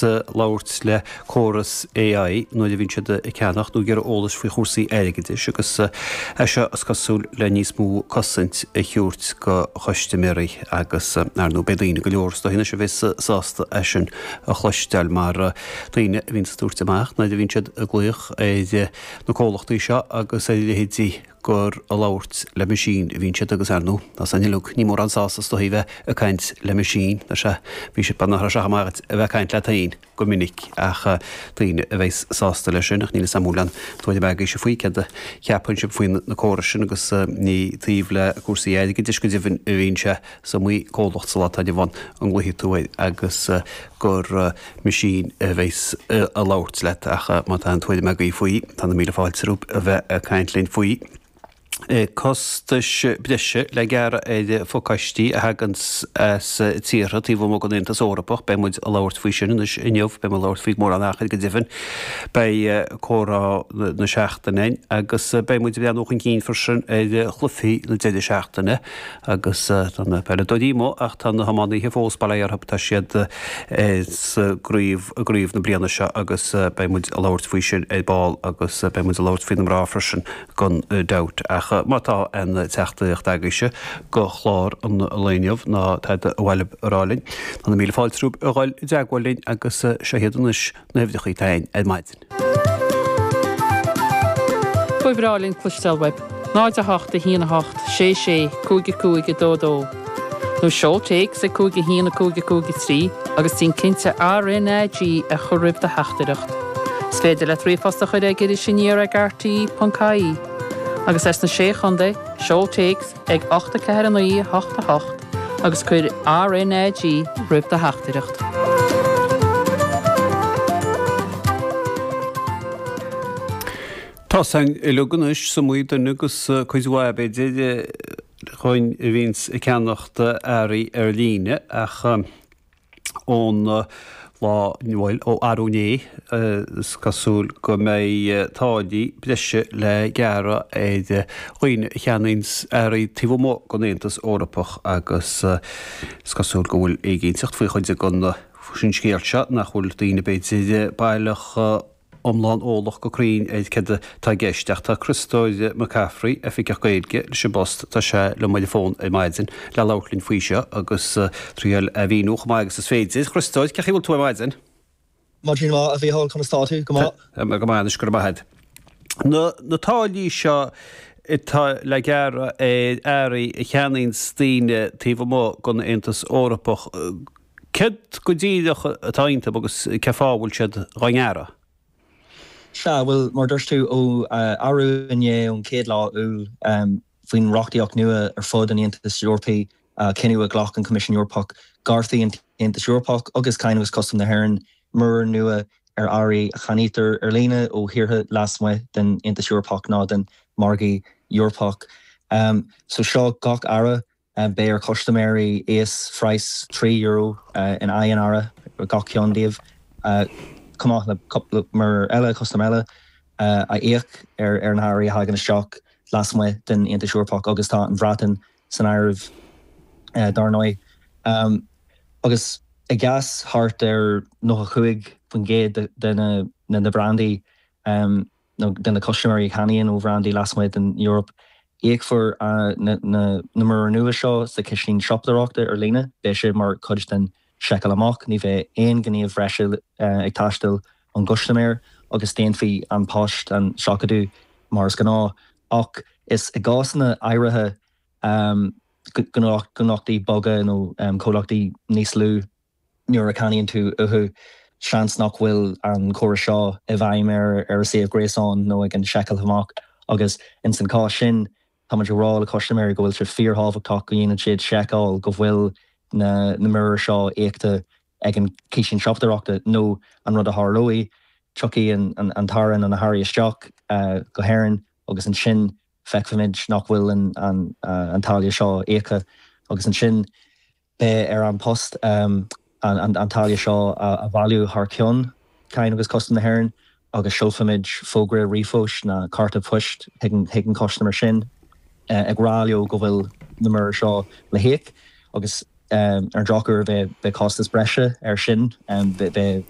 labhairt le córas AI nuair a bhíonn siad ag ceannach nó ag iarraidh eolais faoi chúrsaí airgeadais agus é seo is cosúil le níos mó cosaint a thabhairt go chustaiméirí agus ar ndóigh beidh daoine go leor is dóigh anois a bheas sásta é sin a chloisteáil mar daoine a bhíonns ag tabhairt amach nuair a bhíonn siad ag glaoch ar na comhlachtaí seo agus ar a leithéidí gur ag labhairt le meaisín a bhíonn siad agus ar ndóigh, tá san uilig, ní mórán sásamh is dóichí bheith ag caint le meaisín, tá sé, bhí sé, nach raibh sé chomh maith duit a bheith ag caint leat féin go minic ach daoine a bheas sásta leis sin ach níl 'fhios a'm an bhfuil aon tuairim agaibhse faoi céard a cheapann sibh faoi na córais sin agus ní taobh le cúrsaí airgeadais go deimhin a bhíonn sé is iomaí comhlacht sa lá atá inniu ann a nglaofaidh tú air agus gur meaisín a bheas ag labhairt leat ach má tá aon tuairim agaibh faoi, tá na míle fáilte romhaibh a bheith ag caint linn faoi. Costais breise le gearradh ar phacáistí a thaganns as tíortha taobh amuigh den Aontas Eorpach. Beidh muid ag labhairt faoi sin anois inniu, beidh muid ag labhairt faoi mórán achair go deimhin. Beidh comhrá na seachtaine againn agus beidh muid ag breathnú chun cinn freisin ar chluichí na deireadh seachtaine. Agus tá na peileadóirí amuigh ach tá na hiománaithe fós, bail ó Dhia orthu, tá siad sa gcraobh, i gcraobh na bliana seo agus beidh muid ag labhairt faoi sin ar ball agus beidh muid ag labhairt faoi na mná freisin gan dabht. Ach má tá aon teachtaireacht agaibhse go chlár an lae inniu ná tada ar mhaith libh a rá linn, tá na míle fáilte romhaibh a dhul i dteagmháil linn agus seo iad anois na huimhreacha atá againn ar maidin. Ba bhreá linn cloisteáil uaibh. 0 8 1 8 6 6 5 5 2 2 Nó seol téacs ag 5 1 5 5 3 agus déan cinnte RnaG a chur roimh do theachtaireacht. Is féidir leat ríomhphost a chur ag irisaniar ag rte.ie. Agus as na Sé Chontae, seol téacs ag 8 4 9 8 8 agus cuir RnaG roimh do theachtaireacht. Tá 's againn uilig anois, is iomaí duine agus cuid mhaith b'fhéidir againn a bhíonns ag ceannacht earraí ar líne ach ón lá, bhuel, ó arú inné, is cosúil go mbeidh táillí breise le gearradh ar dhaoine a cheannaíonns earraí taobh amuigh den Aontas Eorpach agus is cosúil go bhfuil éiginnteacht faoi chuid den scéal seo, nach bhfuil daoine b'fhéidir baileach iomlán eolach go cruinn ar céard atá i gceist ach tá Criostóir Mac Cafraidh, Oifigeach Gaeilge leis an bPost, tá sé liom ar an bhfón ar maidin le labhairt linn faoi seo agus triail a mhíniú chomh maith agus is féidir. Chriostóir, cén chaoi a bhfuil tú ar maidin? Maidin mhaith, a Mhícheáil, conas tá tú? Go maith. Tá mé go maith anois, go raibh maith agat. Na na táillí seo atá le gearradh ar earraí a cheannaíonns daoine taobh amuigh den Aontas Eorpach, Céard go díreach atá iontu agus cén fáth a bhfuil siad dhá ngearradh? Sea, bhuel, mar a dúirt tú, ó arú inné, ón chéad lá Iúil, faoin reachtaíocht nua ar fud an Aontais Eorpaigh, cinneadh a ghlac an Coimisiún Eorpach, gearrfaidh an tAontas Eorpach agus Cáin agus Custaim na hÉireann muirir nua ar earraí a cheannaítear ar líne ó thíortha lasmuigh den Aontas Eorpach nó den mhargadh Eorpach. So seo gach earra Beidh ar chustaiméirí íosphraghas €3 in aghaidh an earra, gach ceann díobh, chomh maith le cúpla muirear eile, custam eile, a íoc ar na hearraí a thagann isteach lasmuigh den Aontas Eorpach agus tá an Bhreatain san áireamh, dar ndóigh. Agus i gcás thart ar 95% de na brandaí, nó de na custaiméirí a cheannaíonn ó bhrandaí lasmuigh den Eoraip, íocfar na muirir nua seo sa chistín siopadóireachta ar líne. Beidh sé mar chuid den seiceáil amach. Ní bheidh aon ghníomh bhreise ag teastáil ón gcustaiméir agus déanfaidh An Post an seachadadh mar is gnáth. Ach is i gcásanna áirithe, gnólachtaí beaga nó comhlachtaí níos lú, Nuair a cheannaíonn tú uathu, seans nach bhfuil an córas seo i bhfeidhm ar a suíomh gréasáin nó ag an seiceáil amach agus ins an chás sin, tá muid ag rá le custaiméirí go bhfuil sé fíorthábhachtach go ndéanann siad seiceáil go bhfuil na muirir seo íoctha ag an chistín siopadóireachta nó an rud a tharlóidh, tiocfaidh an t-earra nó na hearraí isteach go hÉirinn agus ansin feicfimid nach bhfuil an táille seo íoctha agus ansin Beidh ar An Post an táille seo a bhailiú thar ceann Cháin agus Custaim na hÉireann agus seolfaimid fógra ríomhphoist nó cárta poist chuig an chustaiméir sin ag rá leo go bhfuil na muirir seo le híoc agus ar an drochuair beidh costas breise air sin. Beidh.